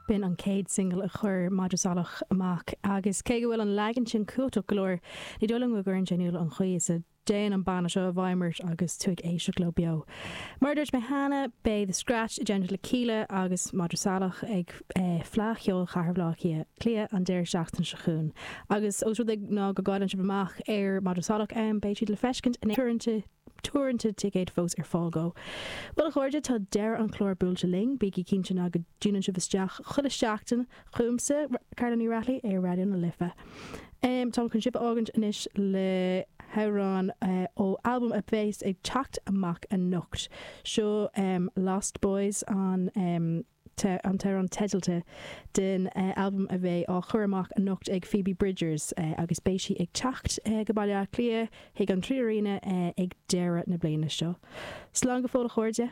B'in an chéad singil a chuir Madra Salach amach agus cé go bhfuil an leagan sin cumhachtach go leor, ní dóigh liom go gcuireann sé in iúl an chaoi is a dtéann an banna seo i bhfeidhm ort agus tú ag éisteacht leo beo. Mar a dúirt mé cheana, beidh The Scratch i dteannta le Kíla agus Madra Salach ag Fleadh Cheoil Chathair Bhaile Átha Cliath an deireadh seachtaine seo chugainn. Agus ós rud é ná go gcailleann sibh amach ar Madra Salach ann, beidh siad le feiscint in teoranta teoranta ticéad fós ar fáil go. Bhuel a chairde, tá deireadh an chláir buailte linn. Bígí cinnte ná go dtiúnann sibh isteach chuile seachtain chugamsa, Carla Ní Raghallaigh, ar Raidió na Life. Táim chun sibh a fhágaint anois le hamhrán ó albam a bheas ag teacht amach anocht. Seo Lost Boys an an t-amhrán teidealta den albam a bheidh á chur amach anocht ag Phoebe Bridgers agus beidh sí ag teacht go Baile Átha Cliath chuig an 3Arena ag deireadh na bliana seo. Slán go fóill a chairde!